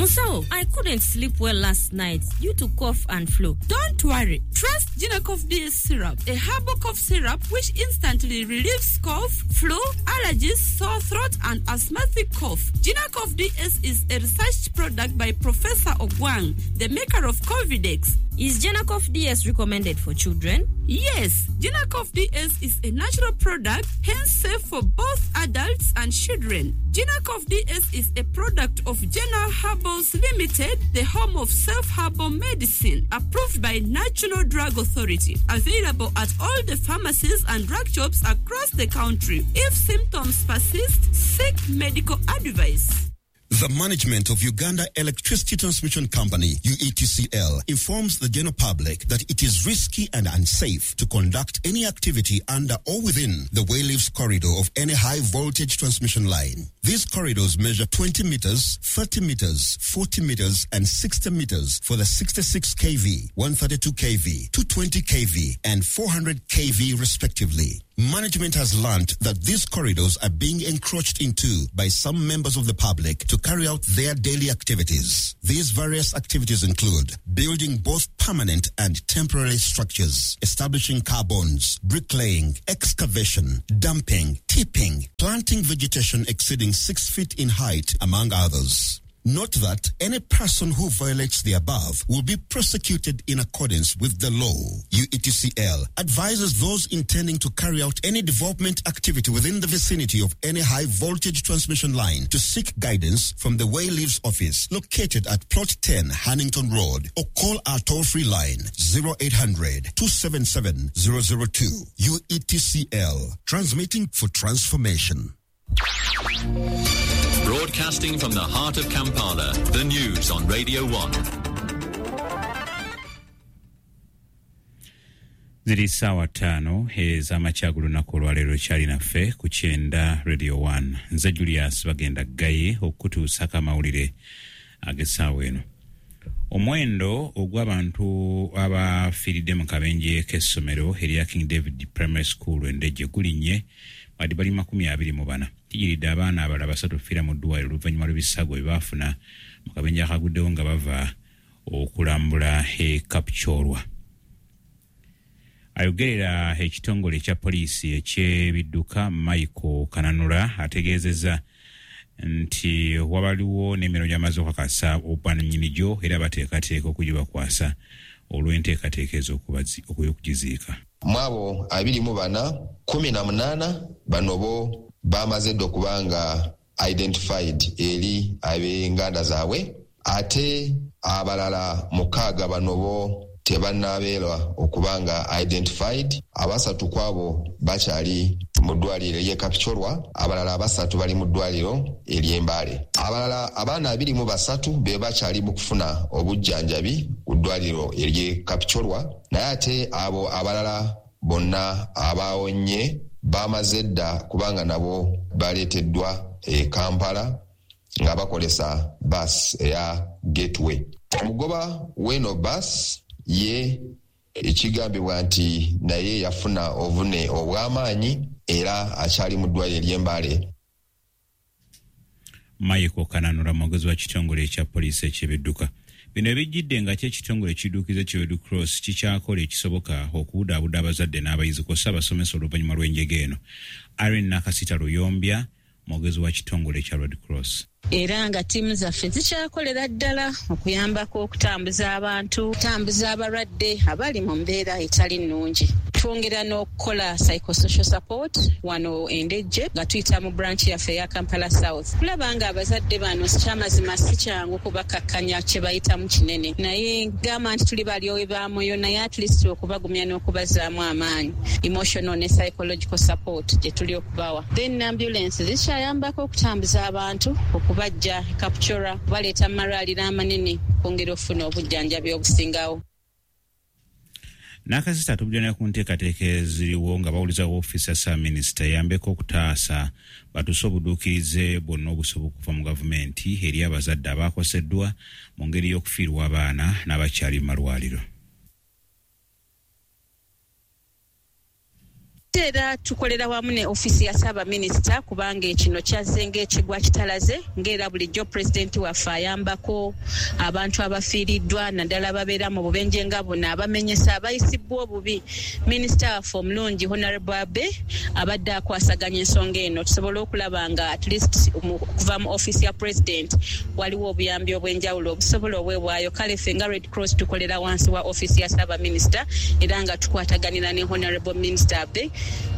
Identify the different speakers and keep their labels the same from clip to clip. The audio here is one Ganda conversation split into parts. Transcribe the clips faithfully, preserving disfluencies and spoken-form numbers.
Speaker 1: Musawo, I couldn't sleep well last night due to cough and flu.
Speaker 2: Don't worry. Trust Ginacough D S syrup, a herbal cough syrup which instantly relieves cough, flu, allergies, sore throat, and asthmatic cough. Ginacough D S is a research product by Professor Ogwang, the maker of Covidex.
Speaker 1: Is Ginacough D S recommended for children?
Speaker 2: Yes, Ginacough D S is a natural product, hence safe for both adults and children. Ginacough D S is a product of General Herbals Limited, the home of self-herbal medicine, approved by National Drug Authority. Available at all the pharmacies and drug shops across the country. If symptoms persist, seek medical advice.
Speaker 3: The management of Uganda Electricity Transmission Company, U E T C L, informs the general public that it is risky and unsafe to conduct any activity under or within the wayleaves corridor of any high voltage transmission line. These corridors measure twenty meters, thirty meters, forty meters, and sixty meters for the sixty-six K V, one thirty-two K V, two twenty K V, and four hundred K V respectively. Management has learned that these corridors are being encroached into by some members of the public to carry out their daily activities. These various activities include building both permanent and temporary structures, establishing carbons, bricklaying, excavation, dumping, tipping, planting vegetation exceeding six feet in height, among others. Note that any person who violates the above will be prosecuted in accordance with the law. U E T C L advises those intending to carry out any development activity within the vicinity of any high voltage transmission line to seek guidance from the Wayleaves office located at Plot ten Hannington Road, or call our toll-free line zero eight hundred, two seven seven, zero zero two. U E T C L, transmitting for transformation.
Speaker 4: Broadcasting from the heart of Kampala, the news on Radio one.
Speaker 5: Ziri ssaawa ttaano ez'amakya g'olunaku olwaleero kyalinaffe ku kyenda Radio one. Nze Julius Bagenda Ggaye okutuusako amawulire ag'essaawa eno. Omuwendo ogw'abantu abafiiridde mu kabenje k'essomero erya King David Primary School e Ndejje gulinnye wadde bali makumi abiri mu bana. Kijiridde abaana abalala basatu okufiira mu ddwaliro oluvannyuma lw'ebisago bye baafuna mu kabenje akaguddewo nga bava okulambula e Kapchorwa. Ayogerera ekitongole ekya poliisi eky'ebidduka Michael Kananura ategeezezza nti wabaliwo n'emirimu gy'amaze okukakasa obwanannyini gyo era bateekateeka okugibakwasa olw'enteekateeka ez'okugiziika.
Speaker 6: Mwabo abiri mu bana kumi na munaana bano bo bamaze dda okubanga identified eri ab'enganda zaabwe, ate abalala mukaaga bano bo tebannabeera okubanga identified. Abasatu kwabo bakyali mu ddwaliro ery'e Kapchorwa, abalala abasatu bali mu ddwaliro ery'e Mbale. Abalala abaana abiri mu basatu be bakyali mu kufuna obujjanjabi ku ddwaliro ery'e Kapchorwa, naye ate abo abalala bonna abaawonye bamaze dda kubanga nabo baleeteddwa e Kampala nga bakolesa bus eya Gateway. Omugoba w'eno bus ye ekigambibwa nti naye yafuna obuvune obw'amaanyi era akyali mu ddwaliro ery'e Mbale.
Speaker 5: Michael Kananura mwogezi wa kitongole ekya poliisi eky'ebidduka. Bino ebijjidde nga ky'ekitongole ekidduukiza ki Red Cross kikyakola ekisoboka okubudaabuda abazadde n'abayizi kw'ossa abasomesa oluvannyuma lw'enjega eno. Irene Nakasita Luyombya mwogezi wa kitongole ekya Red Cross.
Speaker 7: Era nga ttiimu zaffe zikyakolera ddala okuyambako okutambuza abantu, okutambuza abalwadde abali mu mbeera etali nnungi. Twongera n'okukola psychosocial support wano e Ndejje nga tuyita mu branch yaffe eya Kampala South. Kulaba nga abazadde bano sikyamazima si kyangu kubakakkanya kye bayitamu kinene, naye gamba nti tuli balyowe ba mwoyo, naye at least okubagumya n'okubazaamu amaanyi, emotional ne psychological support gye tuli okubawa. Then ambulance zikyayambako okutambuza abantu okubajja Kapchorwa, baleeta mu malwaliro amanene okwongera okufuna obujjanjabi obusingawo.
Speaker 5: Nakasita atubulira ku nteekateeka eziriwo nga bawuliza woofiisi ya Ssaabaminisita eyambeko okutaasa batuuse obuduukirize bwonna obusobola okuva mu gavumenti eri abazadde abaakoseddwa mu ngeri y'okufiirwa abaana n'abakyali mu malwaliro.
Speaker 7: Era tukolera wamu ne ofiisi ya Ssaabaminisita kubanga ekino kyazze ng'ekigwa kitalaze, ng'era bulijjo pulezidenti waffe ayambako abantu abafiiriddwa naddala babeera mu bubenje nga buno abamenyesa abayisibwa obubi. Minisita waffe omulungi Honorable Abe abadde akwasaganya ensonga eno tusobole okulaba nga at least okuva mu ofiisi ya pulezidenti waliwo obuyambi obw'enjawulo obusobola obwebwayo. Kale ffe nga Red Cross tukolera wansi wa ofiisi ya Ssaabaminisita era nga tukwataganira ne Honorable Minister Abe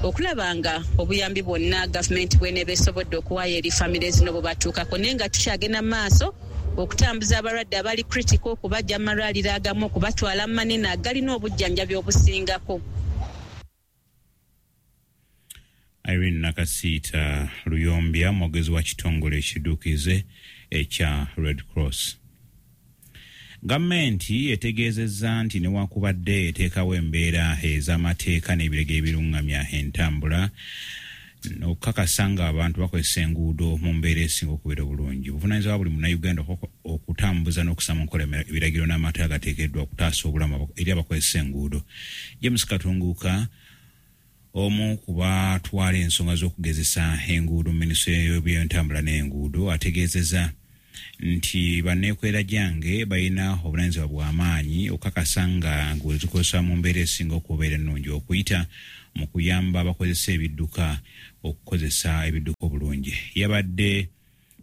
Speaker 7: okulaba nga obuyambi bwonna gavumenti bw'eneeba esobodde okuwaayo eri famire zino bwe batuukako, naye nga tukyagenda mu maaso okutambuza abalwadde abali critical okubajja mu malwaliro agamu okubatwala mu manene agalina obujjanjabi obusingako.
Speaker 5: Irene Nakasiita Luyombya mwogezi wa kitongole ekidduukize ekya Red Cross. Gavumenti etegeezezza nti newankubadde eteekawo embeera ez'amateeka n'ebiragiro ebirungamya entambula n'okukakasa ng'abantu bakozesa enguudo mu mbeera esinga okubeera obulungi, buvunaanyizibwa buli munnayuganda okutambuza n'okussa mu nkola ebiragiro n'amateeka agateekeddwa okutaasa obulamu eri abakozesa enguudo. James Katunguka omu ku batwala ensonga z'okugezesa enguudo mu minisitule y'ebyentambula n'enguudo ategeezezza nti banneekolera gyange balina obuvunaanyizibwa bw'amaanyi okukakasa nga enguudo zikozesebwa mu mbeera esinga okubeera ennungi okuyita mu kuyamba abakozesa ebidduka okukozesa ebidduka obulungi. Yabadde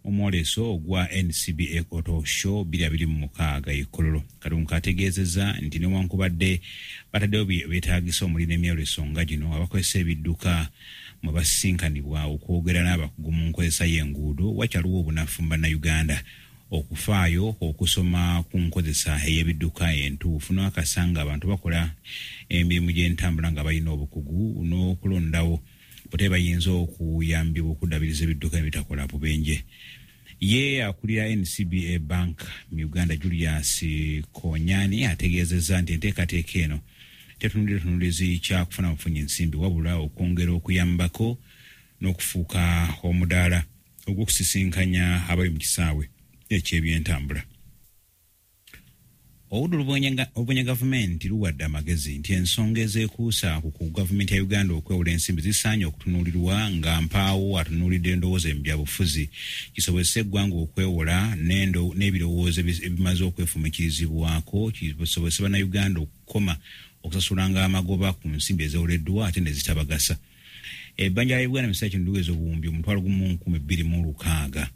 Speaker 5: omwoleso ogwa N C B A Auto Show bbiri abiri mu mukaaga e Kololo. Katunguka ategeezezza nti newankubadde bataddewo beetaagisa omuli n'emyoleso nga gino, abakozesa ebidduka mwe basinkanibwa okwogera n'abakugu mu nkozesa y'enguudo, wakyaliwo obunafu mu Bannayuganda okufaayo okusoma ku nkozesa ey'ebidduka entuufu n'akasa nga abantu bakola emirimu gy'entambula nga balina obukugu n'okulondawo bwe bayinza okuyambibwa okuddabiriza ebidduka ebitakola bubenje. Ye akulira N C B A Bank mu Uganda Julius Konyani ategeezezza nti enteekateeka eno tetunuulira tunuulizi kyakufuna bufunyi nsimbi wabula okwongera okuyambako n'okufuuka omudaala ogw'okusisinkanya abali mu kisaawe eky'ebyentambula. Oludda oluvuganya gavumenti luwadde amagezi nti ensonga ezeekuusa ku gavumenti ya Uganda okwewola ensimbi zisaanye okutunuulirwa nga mpaawo atunuulidde endowooza mu byabufuzi kisobozese eggwanga okwewola n'ebirowoozo ebimaze okwefumikirizibwako kisobozese Bannayuganda okukoma okusasulanga amagoba ku nsimbi ezewoleddwa ate ne zitabagasa. Ebbanja lya Uganda mu kiseera kino liweza obuwumbi omutwalo gumu nkumi bbiri mu lukaaga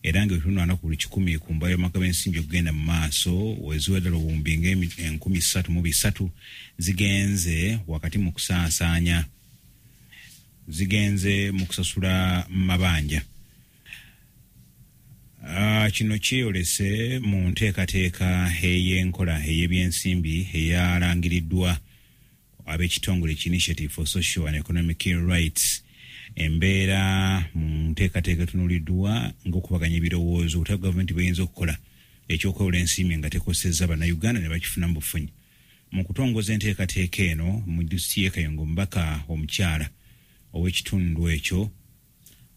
Speaker 5: era ng'ebitundu ana ku buli kikumi ku mbayo y'amaka b'ensimbi okugenda mu maaso weziwera ddala obuwumbi ng'enkumi ssatu mu bisatu zigenze wakati mu kusaasaanya zigenze mu kusasula mabanja. Uh, kino kyeyolese mu nteekateeka ey'enkola ey'ebyensimbi eyalangiriddwa ab'ekitongole Initiative for Social and Economic Rights. Embeera mu nteekateeka etunuuliddwa ng'okubaganya ebirowoozo obutali gavumenti bweyinza okukola eky'okwewola ensimbi nga tekosezza Bannayuganda ne bakifuna mu bufunyi. Mu kutongoza enteekateeka eno mu disitulikiti y'e Kayunga, omubaka omukyala ow'ekitundu ekyo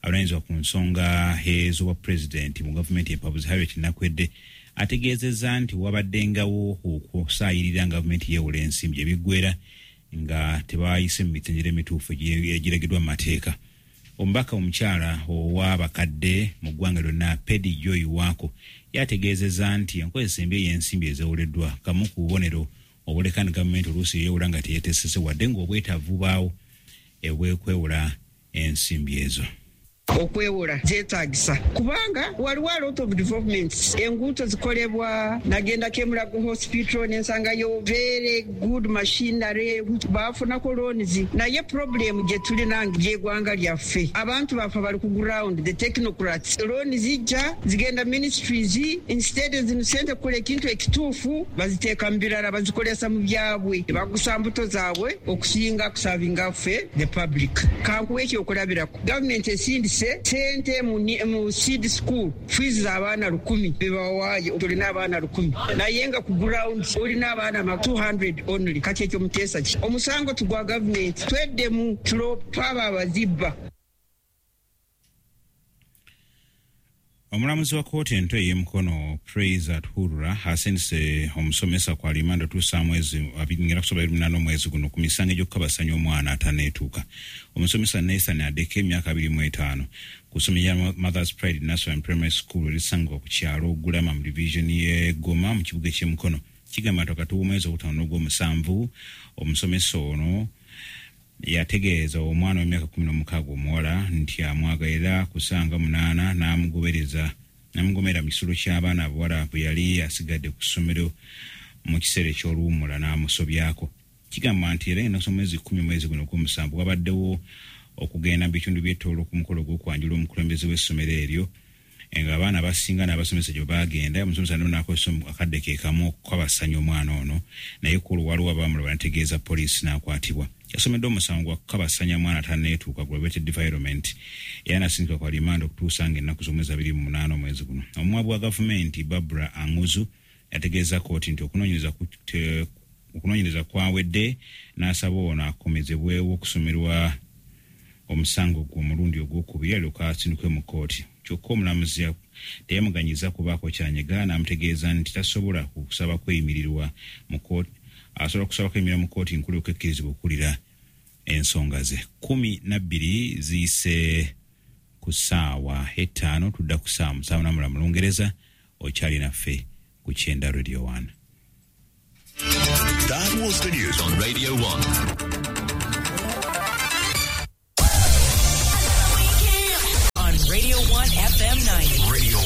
Speaker 5: avunaanyizibwa ku nsonga ez'obwa pulezidenti mu gavumenti empabuzi Harriet Nakwedde ategeezezza nti wabaddengawo okusaayirira nga gavumenti yeewola ensimbi ebiggwera nga tebayise mu mitendera emituufu egiragiddwa mu mateeka. Omubaka omukyala ow'abakadde mu ggwanga lyonna Pedi Joy Waako yategeezezza nti enkozesa embi ey'ensimbi ezeewoleddwa kamu ku bubonero obuleka ne gavumenti oluusi yeewola nga teyeetesese wadde ng'obwetaavu bubaawo obw'okwewola ensimbi ezo.
Speaker 8: Okwewola zeetagisa kubanga waliwo a lot of developments, enguuto zikolebwa, nagendako Emulago hospital nensangayo very good machinery, bafunako loans, naye problem gye tulina gy'eggwanga lyaffe abantu baffe bali ku ground, the technocrats, loans zijja zigenda ministries, instead zino sente kukola ekintu ekituufu baziteeka mu birala bazikolesa mu byabwe, bagusa mbuto zaabwe okusinga kusavinga ffe the public. Kankuwa ekyokulabirako, gavumenti esindise sente mu, mu seed school fees z'abaana lukumi bebawaayo, olina abaana lukumi naye nga ku ground olina abaana two hundred only. Kati ekyo muteesa ki? Omusango tugwa gavumenti tweddemu twaba abazibba.
Speaker 5: Omulamuzi wa kkooti ento ey'emukono Praise Atuhurura asindise omusomesa ku alimanda otuusa mwezi ngera kusoba abiri munaana omwezi guno ku misango egy'okukabasanya omwana ataneetuuka. Omusomesa Nathan Adeke, emyaka abiri mu etaano, ku ssomero lya Mothers Pride Nursery and Primary School erisangibwa ku kyalo Gulama mu division y'e Goma mu kibuga eky'emukono. Kigamba nti wakati w'omwezi ogutaano n'ogw'omusanvu, omusomesa ono yategeeza omwana w'emyaka kumi n'omukaaga omuwala nti amwagalira kusanga munaana, n'amugobereza n'amugomera mu kisulo ky'abaana abawala bwe yali asigadde ku ssomero mu kiseera eky'oluwummula, n'amusobyako. Kigamba nti era ennaku z'omwezi kkumi omwezi guno ogw'omusanvu wabaddewo okugenda mu bitundu by'ettoolo ku mukolo ogw'okwanjula omukulembeze w'essomero eryo, ng'abaana abasinga n'abasomesa gye baagenda. Omusomesa no n'akozesa akadde ke kamu okukabasanya omwana ono, naye ku olwo waliwo abaamulaba n'ategeeza poliisi, n'akwatibwa. Yasomeddwa omusango gwa kukabasanya mwana tanneetuuka, aggravated defilement, era n'asindikibwa ku alimanda okutuusa ng'ennaku z'omwezi abiri mu munaana omwezi guno. Omuwaabi wa gavumenti Barbara Anguzu yategeeza kooti nti okunoonyereza okunoonyereza kwawedde, n'asaba ono akomezebwewo okusomerwa omusango gwe omulundi ogwokubiri, alyoke asindikwe mu kkooti. Kyokka omulamuzi teyamuganyiza kubaako kyanyega, n'amutegeeza nti tasobola kusaba kweyimirirwa mu kkooti, asobola kusaba kweyimirira mu kkooti nkulu okukkirizibwa okuwulira ensonga ze. Kumi na bbiri ziyise ku ssaawa etaano, tudda ku ssaawa musanvu namula mu Lungereza. Okyali naffe ku Kyenda Radio one.
Speaker 4: That was the news on Radio one.